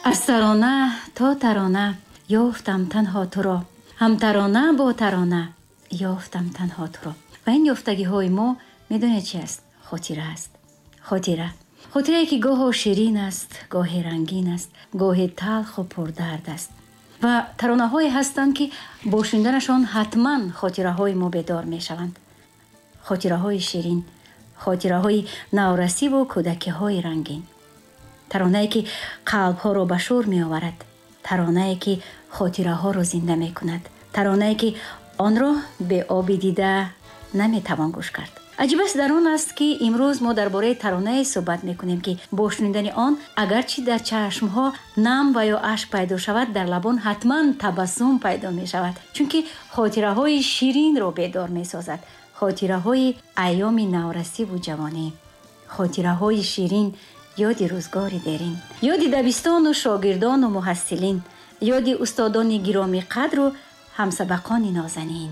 Аз тарона то тарона ёфтам танҳо туро, ҳам тарона бо тарона ёфтам танҳо туро. Ва ин ёфтагиҳои мо медонед чи аст? Хотира аст. Хотира. Хотирае, ки гоҳо ширин аст, гоҳе рангин аст, гоҳе талху пурдард аст. Ва таронаҳое ҳастанд, ки бо шуниданашон ҳатман хотираҳои мо бедор мешаванд. Хотираҳои ширин, хотираҳои наврасиву кӯдакиҳои рангин. Таронае, ки қалбҳоро ба шӯр меоварад, таронае, ки хотираҳоро зинда мекунад, таронае, ки онро бе оби дида наметавон гӯш кард. Аҷибаш дар он аст, ки имрӯз мо дар бораи таронае суҳбат мекунем, ки бо шунидани он агарчи дар чашмҳо нам ва ё ашк пайдо шавад, дар лабон ҳатман табассум пайдо мешавад, чунки хотираҳои ширинро бедор месозад, хотираҳои айёми наврасиву ҷавонӣ, хотираҳои ширин, ёди рӯзгори дерин, ёди дабистону шогирдону муҳассилин, ёди устодони гиромиқадру ҳамсабақони нозанин.